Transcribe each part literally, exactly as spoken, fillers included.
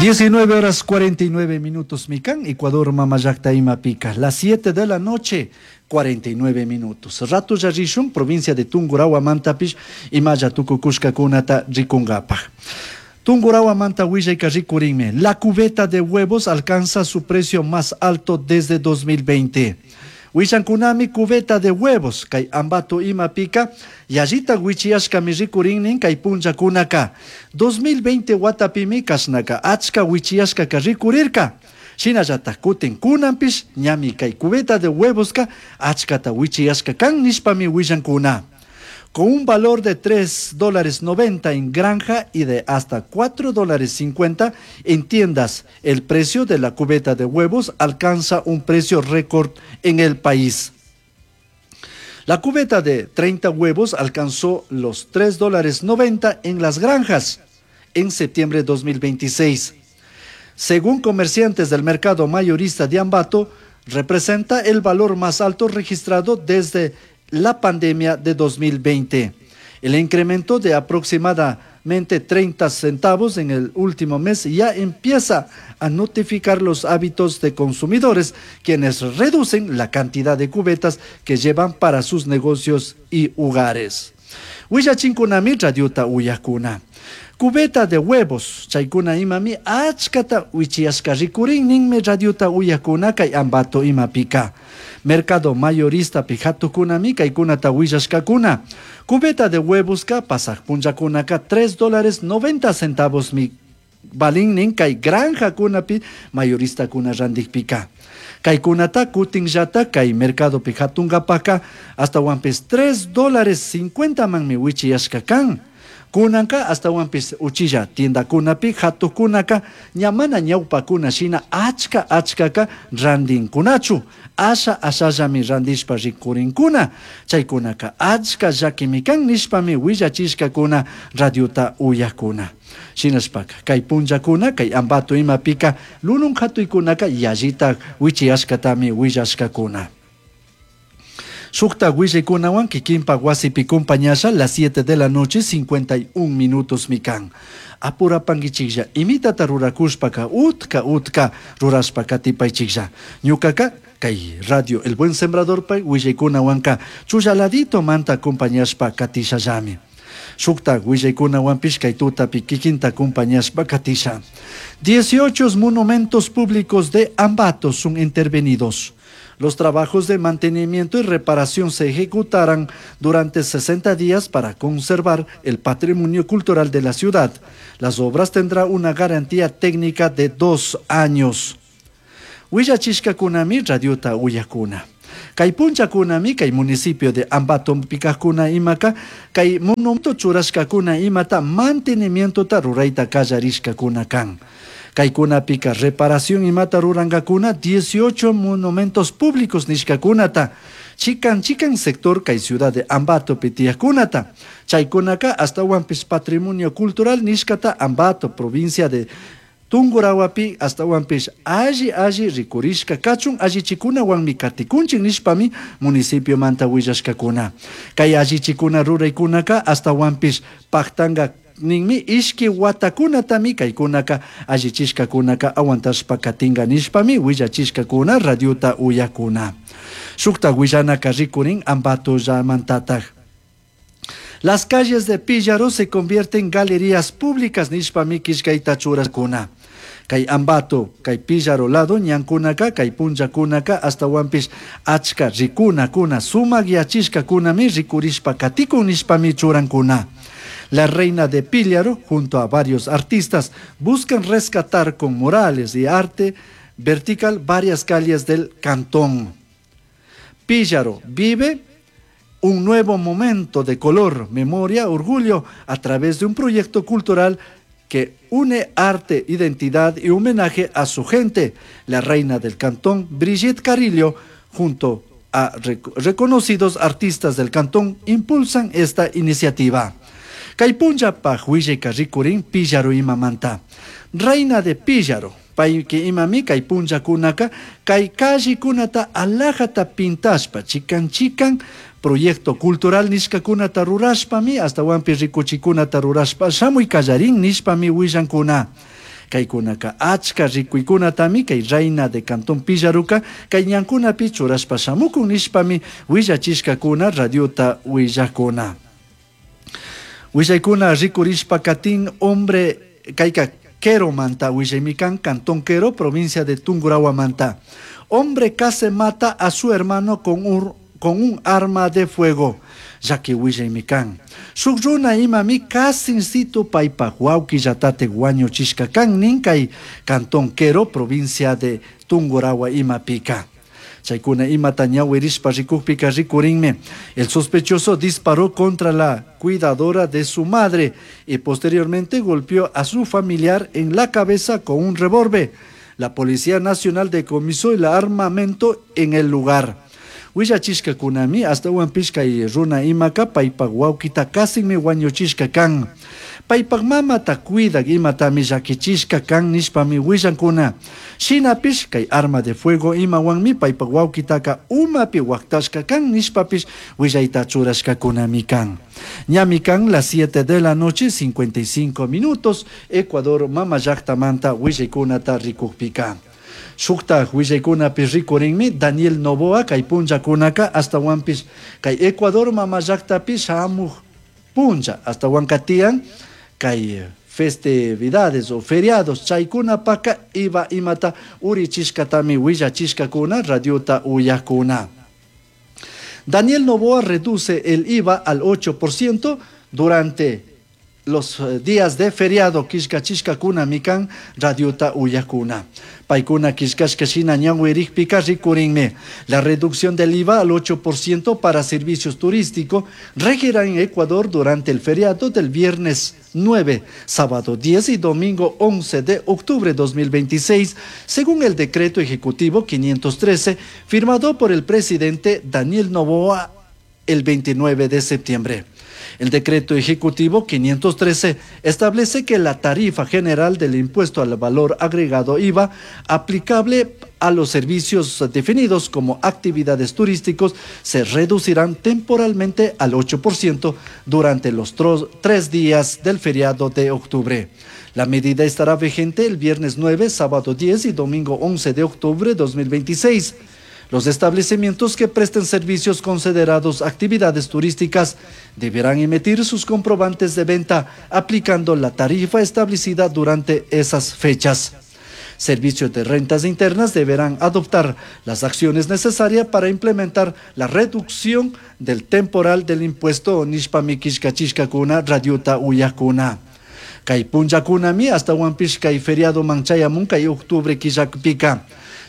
Diecinueve horas cuarenta y nueve minutos mikan, Ecuador mamallakta imapika, las siete de la noche, cuarenta y nueve minutos. Rato rishun, provincia de Tungurahua mantapish, imalla tukukushkakunata rikungapaj. Tungurahua manta willayka rikurinmi, la cubeta de huevos alcanza su precio más alto desde dos mil veinte. Willankunami cubeta de huevos, kay Ambato imapika, yallita wichiyashkami rikurinnin kay punllakunaka. dos mil veinte watapimi kashnaka achka wichiyashkaka rikurirka. Shinallatak kutin kunanpish ñami kay cubeta de huevoska achkata wichiyashka kan nishpami willankuna. Con un valor de tres dólares noventa en granja y de hasta cuatro dólares cincuenta en tiendas, el precio de la cubeta de huevos alcanza un precio récord en el país. La cubeta de treinta huevos alcanzó los tres dólares noventa en las granjas en septiembre de dos mil veintiséis. Según comerciantes del mercado mayorista de Ambato, representa el valor más alto registrado desde la pandemia de dos mil veinte. El incremento de aproximadamente treinta centavos en el último mes ya empieza a notificar los hábitos de consumidores, quienes reducen la cantidad de cubetas que llevan para sus negocios y hogares. Willachinkunami radiota uyakuna. Cubeta de huevos, chaykuna imami achkata wichiyashka rikurin ninmi radiota uyakuna kay Ambato imapika. Mercado mayorista pijatukunami kaykunata willashkakuna. Cubeta de huevos ka pasaj punllakunaka tres dólares noventa centavos mi balin kay granja kunapi mayorista kuna randikpika. Kaykunata kutinllata kay mercado pijatunkapaka hasta wampis tres dólares cincuenta manmi wichiyashka kan. Kunanka hasta wampis uchilla tienda kunapi hatukunaka ñamana ñawpakuna shina achka achkaka randinkunachu. Asha ashallami randishpa rikurinkuna. Chaykunaka achka llakimi kan nishpami willachishkakuna radiota uyakuna. Shinashpaka kay punllakuna kay Ambato imapika lunun hatuykunaka yallita wichiyashkatami willashkakuna. Shukta willaykunawan kikinpa wasipi compañasha las siete de la noche cincuenta y un minutos mikan. Apurapankichiklla imitata rurakushpaka utka utka rurashpa katipaychiklla. Ñukaka kay radio El Buen Sembrador pay willaykunawanka chullaladito manta compañashpa katishallami. Shukta willaykunawanpish kay tutapi kikinta compañashpa katisha. dieciocho monumentos públicos de Ambato son intervenidos. Los trabajos de mantenimiento y reparación se ejecutarán durante sesenta días para conservar el patrimonio cultural de la ciudad. Las obras tendrán una garantía técnica de dos años. Willachishkakunami radiota uyakuna. Kay punchakunami kay municipio de Ambato pikakuna imaka kay monumento churashkakuna imata mantenimiento ta rurayta kallarishkakuna kan. Kaykunapika reparación imata rurankakuna dieciocho monumentos públicos nishkakunata. Chikan chikan sector kay ciudad de Ambato pitiakunata. Chaykunaka hasta wampis patrimonio cultural nishkata Ambato provincia de Tungurahuapi hasta wampis alli alli rikurishka kachun allichikuna wanmi katikunchin nishpami municipio manta willashkakuna. Kay allichikuna ruraykunaka hasta wampis paktanga ninmi ishki watakunatami kaykunaka allichishkakunaka aguantashpa katinga nishpami willachishkakuna radiota uyakuna. Shukta willanaka rikurin Ambato llamantataj. Las calles de Píllaro se convierten en galerías públicas nishpami kishkayta churaskuna. Kay Ambato, kay Píllaro lado, ñankunaka, kay punllakunaka, hasta wampis achka rikunakuna, sumak yachishkakunami rikurishpa katikun nishpami churankuna. La reina de Píllaro, junto a varios artistas, buscan rescatar con murales y arte vertical varias calles del cantón. Píllaro vive un nuevo momento de color, memoria, orgullo, a través de un proyecto cultural que une arte, identidad y homenaje a su gente. La reina del cantón, Brigitte Carrillo, junto a rec-, reconocidos artistas del cantón, impulsan esta iniciativa. Kaypunlla pajuille karrikurin Píllaro imamanta. Reina de Píllaro, payki imami kaypunlla kunaka, kay kallikunata alajata pintashpa, chikan chikan, proyecto cultural nishkakunata rurashpami, hasta wampi rikuchikunata rurashpa, shamuy kallarin nishpami willankuna. Kaykunaka achka rikuykunatami kay Reina de Cantón Pillaruka kay ñankunapi churashpa shamukun nishpami willachishkakuna radiota willakuna. Willaykuna rikurishpa katin hombre kayka Queromanta willaymikan Cantón Quero, provincia de Tungurahua-manta. Hombre casi mata a su hermano con un, con un arma de fuego. Llaki willaymikan. Shuk runa imami casinsito paypak wawkillatate wañuchishka kan nin kay Cantón Quero, provincia de Tungurahua imapika. Chaykuna imata ñawirishpa rikukpika rikurinmi. El sospechoso disparó contra la cuidadora de su madre y posteriormente golpeó a su familiar en la cabeza con un revólver. La Policía Nacional decomisó el armamento en el lugar. Willachishkakunami ashtawanpish kay runa imaka paypak wawkita kasinmi wañuchishka kan. Paypak mamata cuidak imatami llakichishka kan nishpami willankuna. Shinapish kay arma de fuego imawanmi paypak wawkitaka umapi waktashka kan nishpapish willayta churashkakunami kan. Ñami kan las siete de la noche cincuenta y cinco minutos, Ecuador mama llaktamanta willaykunata rikukpika. Shuktak willaykunapi rikurinmi Daniel Noboa kay punllakunaka ashtawanpish kay Ecuador mama llaktapi shamuk punlla ashtawanka tiyan kay festividades o feriados chaykunapaka I V A imata urichishkatami willachishkakuna radiota uyakuna. Daniel Noboa reduce el I V A al ocho por ciento durante los eh, días de feriado killkachishkakuna kan radiota uyakuna. Paykuna killkashka shina ñawirikpika rikurinmi. La reducción del I V A al ocho por ciento para servicios turísticos regirá en Ecuador durante el feriado del viernes nueve, sábado diez y domingo once de octubre dos mil veintiséis, según el decreto ejecutivo quinientos trece firmado por el presidente Daniel Noboa el veintinueve de septiembre. El decreto ejecutivo quinientos trece establece que la tarifa general del impuesto al valor agregado I V A aplicable a los servicios definidos como actividades turísticos se reducirán temporalmente al ocho por ciento durante los tres días del feriado de octubre. La medida estará vigente el viernes nueve, sábado diez y domingo once de octubre de dos mil veintiséis. Los establecimientos que presten servicios considerados actividades turísticas deberán emitir sus comprobantes de venta aplicando la tarifa establecida durante esas fechas. Servicios de Rentas Internas deberán adoptar las acciones necesarias para implementar la reducción del temporal del impuesto nishpami killkachishkakuna radiota uyakuna. Kay punllakunami ashtawanpish kay feriado man chayamun kay octubre killapika.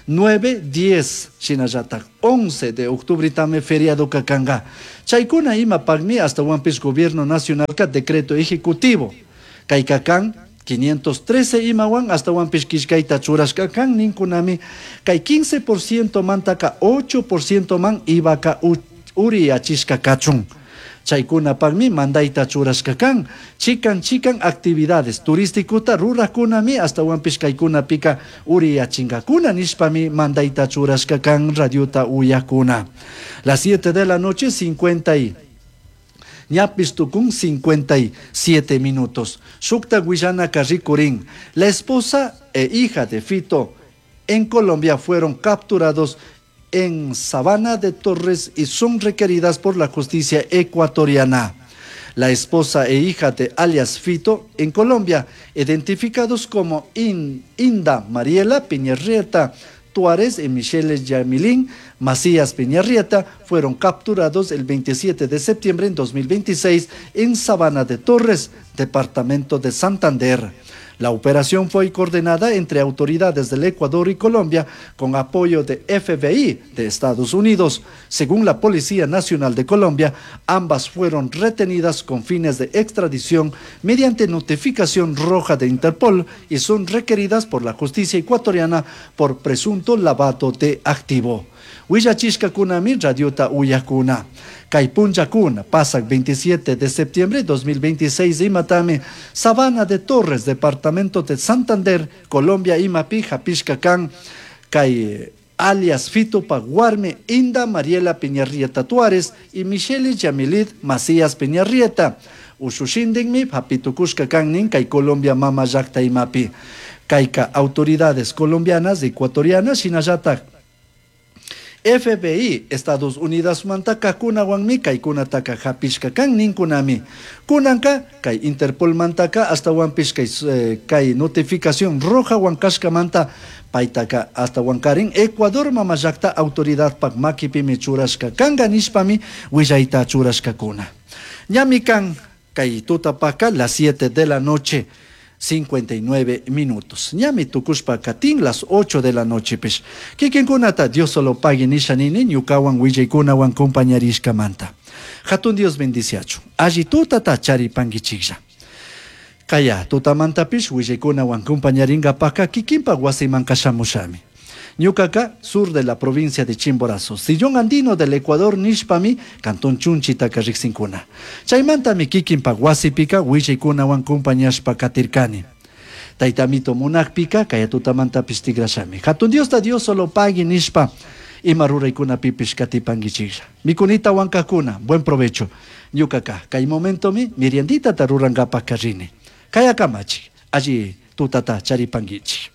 nueve, diez, shinallatak once de octubre tame feriado kakanga. Chaykuna imapakmi ashtawanpish gobierno nacional ka decreto ejecutivo. Kay kakan quinientos trece imawan ashtawanpish killkayta churashka kan ninkunami kay quince por ciento mantaka ocho por ciento man I V Aka uriyachishka kachun. Chaykunapakmi mandayta churashka kan. Chikan chikan actividades turísticota rurakunami ashtawanpish kaykunapika uriyachinkakuna nishpami mandayta churashka kan radiota uyakuna. Las siete de la noche cincuenta y ñapis tukun cincuenta y siete minutos. Shukta willanaka rikurin. La esposa e hija de Fito en Colombia fueron capturados en Sabana de Torres y son requeridas por la justicia ecuatoriana. La esposa e hija de alias Fito en Colombia, identificados como Inda Mariela Peñarrieta Tuárez y Michelle Yamilín Macías Peñarrieta, fueron capturados el veintisiete de septiembre en dos mil veintiséis en Sabana de Torres, departamento de Santander. La operación fue coordinada entre autoridades del Ecuador y Colombia con apoyo de F B I de Estados Unidos. Según la Policía Nacional de Colombia, ambas fueron retenidas con fines de extradición mediante notificación roja de Interpol y son requeridas por la justicia ecuatoriana por presunto lavado de activo. Willachishkakunami radiota uyakuna. Kay punllakuna, pasak veintisiete de septiembre de dos mil veintiséis, imatami, Sabana de Torres, departamento de Santander, Colombia, imapi, hapishka kan, kay alias Fito pak warmi, Inda Mariela Peñarrieta Tuárez y Michelle Yamilit Macías Peñarrieta. Ushushindinmi, hapitukushka kan nin, kay Colombia mama llakta imapi. Kayka autoridades colombianas, ecuatorianas, shinallatak F B I, Estados Unidos mantaka kunawanmi kaykunataka hapishka kan ninkunami. Kunanka kay Interpol mantaka astawanpish kay, eh, kay notificación roja wankashkamanta paytaka astawankarin Ecuador mamallakta autoridadpak makipimi churashka kanka nishpami willayta churashkakuna. Ñami kan kay tutapaka las siete de la noche cincuenta y nueve minutos. Ñami tukushpa katin las ocho de la noche pish. Kikinkunata Dios solo pague nisha nini ñukawan willaykunawan compañarishkamanta. Hatun Dios bendiciachu. Alli tutata charipankichiklla. Kaya tutamantapish willaykunawan compañaringapaka kikinpa wasiman kashamushami. Ñukaka, sur de la provincia de Chimborazo, sillón andino del Ecuador nishpami, cantón Chunchitaka riqsinkuna. Chaymantami kikinpa wasipika willaykunawan compañashpa katirkani. Taytamito munakpika, kaya tutamantapis tigrashami. Hatun Diosta Dios solo pagui nishpa, ima ruraykunapipish katipankichiklla. Mikunita wankakuna, buen provecho. Ñukaka, kay momentomi merienditata rurankapak karrini. Kaya kamachi, allí tutata charipankichik.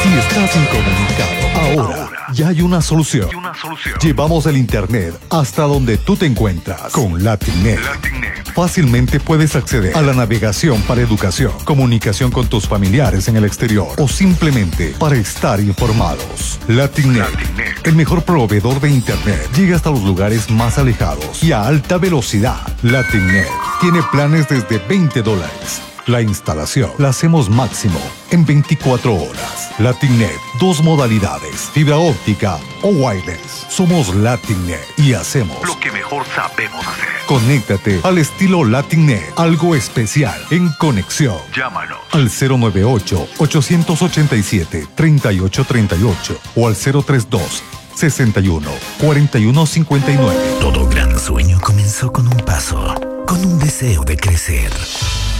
Si estás incomunicado, ahora ya hay una solución. Hay una solución. Llevamos el internet hasta donde tú te encuentras con LatinNet. LatinNet. Fácilmente puedes acceder a la navegación para educación, comunicación con tus familiares en el exterior o simplemente para estar informados. LatinNet, LatinNet. el mejor proveedor de internet, llega hasta los lugares más alejados y a alta velocidad. LatinNet tiene planes desde veinte dólares. La instalación la hacemos máximo en veinticuatro horas. LatinNet, dos modalidades, fibra óptica o wireless. Somos LatinNet y hacemos lo que mejor sabemos hacer. Conéctate al estilo LatinNet, algo especial en conexión. Llámanos al cero nueve ocho, ochocientos ochenta y siete, treinta y ocho treinta y ocho o al cero tres dos, sesenta y uno, cuarenta y uno cincuenta y nueve. Todo gran sueño comenzó con un paso, con un deseo de crecer.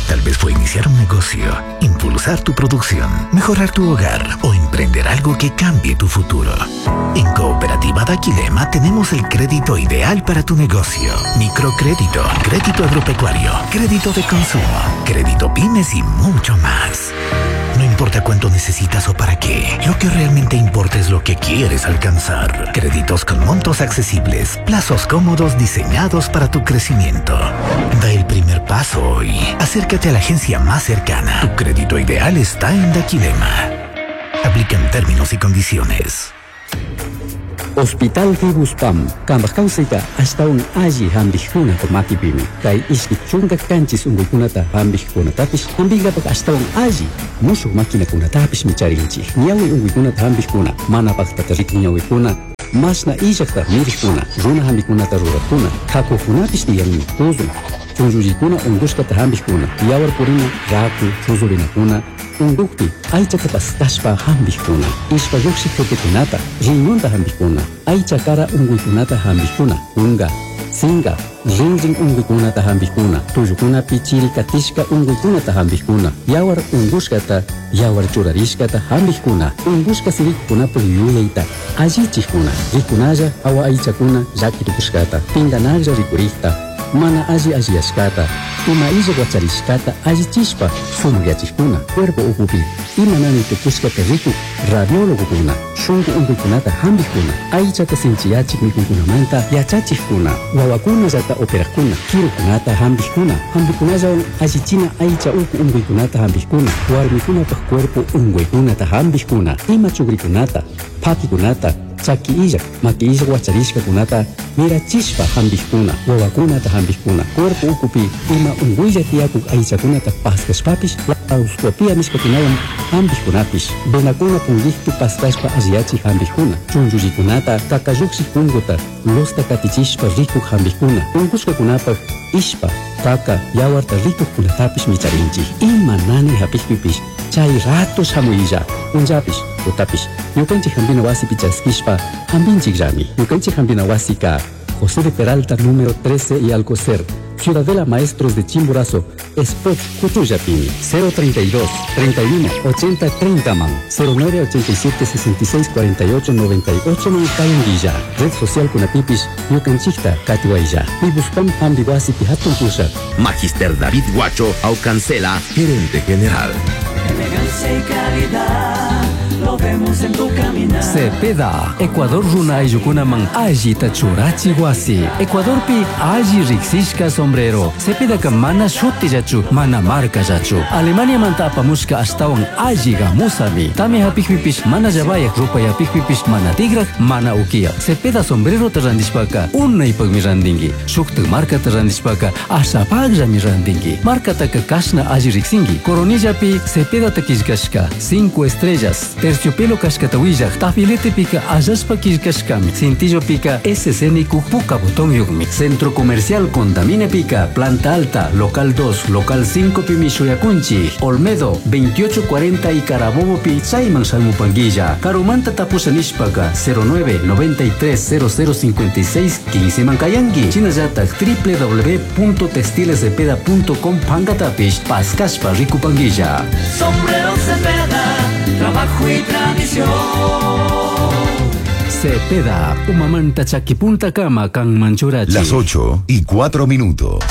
Tal vez fue iniciar un negocio, impulsar tu producción, mejorar tu hogar o emprender algo que cambie tu futuro. En Cooperativa Daquilema tenemos el crédito ideal para tu negocio. Microcrédito, crédito agropecuario, crédito de consumo, crédito pymes y mucho más. No importa cuánto necesitas o para qué, lo que realmente importa es lo que quieres alcanzar. Créditos con montos accesibles, plazos cómodos diseñados para tu crecimiento. Da el primer paso hoy. Acércate a la agencia más cercana. Tu crédito ideal está en Daquilema. Aplican términos y condiciones. Hospital Fibuspam, kambaj kawsayta ashtawan alli hampikkunata makipimi. Kay ishki chunka kanchis unkuykunata hampikkunatapish hampinkapak ashtawan alli mushuk maquinakunatapish micharinchik. Ñawi unkuykunata hampikkuna, mana paktata rikun ñawikuna, mashna illakta mirikkuna, runa hampikunata rurakkuna, kakukunapish tiyanmi, tuzun, chunllullikuna unkushkata hampikkuna, yawar purina, raku, chuzurinakuna, unkukpi aychata paskashpa hampikkuna, ishpa lluqshik tukikunata, riñonta hampikkuna, aycha kara unkuykunata hampikkuna, kunka, sinka, rinrin unkuykunata hampikkuna, tullukunapi chiri katishka unkuykunata hampikkuna, yawar unkushkata, yawar churarishkata hampikkuna, unkushka sirikunapak yuyayta allichikkuna, rikunalla awa aychakuna llakitukushkata, pinkanaklla rikurikta, mana alli alliyashkata, ima illa wacharishkata allichishpa sumakyachikkuna, cuerpo ukupi ima nani tukushkata rikuk radiólogokuna, shunku unkuykunata hampikkuna, aychata sinchiyachik mikuykunamanta yachachikkuna, wawakunallata operakkuna, kirukunata hampikkuna, hampikunallawan allichina aycha uku unkuykunata hampikkuna, warmikunapak cuerpo unkuykunata hampikkuna, ima chukrikunata, phakikunata, chaki illak, maki illak wacharishkakunata mirachishpa hampikkuna, wawakunata hampikkuna, cuerpo ukupi ima unkuylla tiyakuk aychakunata paskashpapish laparoscopia nishkakunawan hampikkunapish, venakuna punkikpi paskashpa alliyachik hampikkuna, chunllullikunata kakalluksik punkuta losta katichishpa rikuk hampikkuna, unkushkakunapak ishpa, kaka, yawarta rikukkunatapish micharinchik. Ima nani hapikpipish chay rato shamuylla, punllapish, tutapish, ñukanchik hampina wasipi chaskishpa hampinchikllami. Ñukanchik hampina wasika José de Peralta número trece y Alcocer, Ciudadela Maestros de Chimborazo, Spot Cuchullapini, cero treinta y dos, treinta y uno, ochenta, treinta man, cero nueve ochenta y siete, sesenta y seis, cuarenta y ocho, noventa y ocho man Cayanguilla. Red social Kunapipis, Yucanchicta, Catihuaylla. Pibuspam Hambiwasi Pihatun Pushak. Magister David Guacho Aucancela, gerente general. Elegancia y calidad, lo vemos en tu caminar. Cepeda, Ecuador runa ayllukunaman allita churachi wasi. Ecuadorpi alli riksishka sombrero. Cepedaka mana shutillachu, mana markallachu. Alemania manta apamushka ashtawan alli gamusami. Tami hapikpipish mana llavayak, rupayapikpipish mana tigrak, mana ukiya. Cepeda sombrerota randishpaka unaypakmi randinki. Shuktak markata randishpaka ashapakllami randinki. Markataka kashna alli riksinki. Coronillapi Cepedata killkashka cinco estrellas. Terciopelo kashkata willaq, tafiletepika allashpa killkashkami, cintillopika S C N puka botón yukmi. Centro Comercial Contamine Pica, Planta Alta, Local dos, Local cinco pimi shuyakunchi, Olmedo, veintiocho cuarenta y Carabobo pi chayman shalmupanguilla, Karumanta tapusha nishpaka, cero nueve noventa y tres cero cero cincuenta y seis quince mancayangi, Chinallatak w w w punto textiles cepeda punto com pankatapish, Pascashpa rikupanguilla. Sombrero Cepeda, trabajo y tradición. Cepeda, Umamanta Chaquipunta Kama, Kan Manchurachi. Las ocho y cuatro minutos.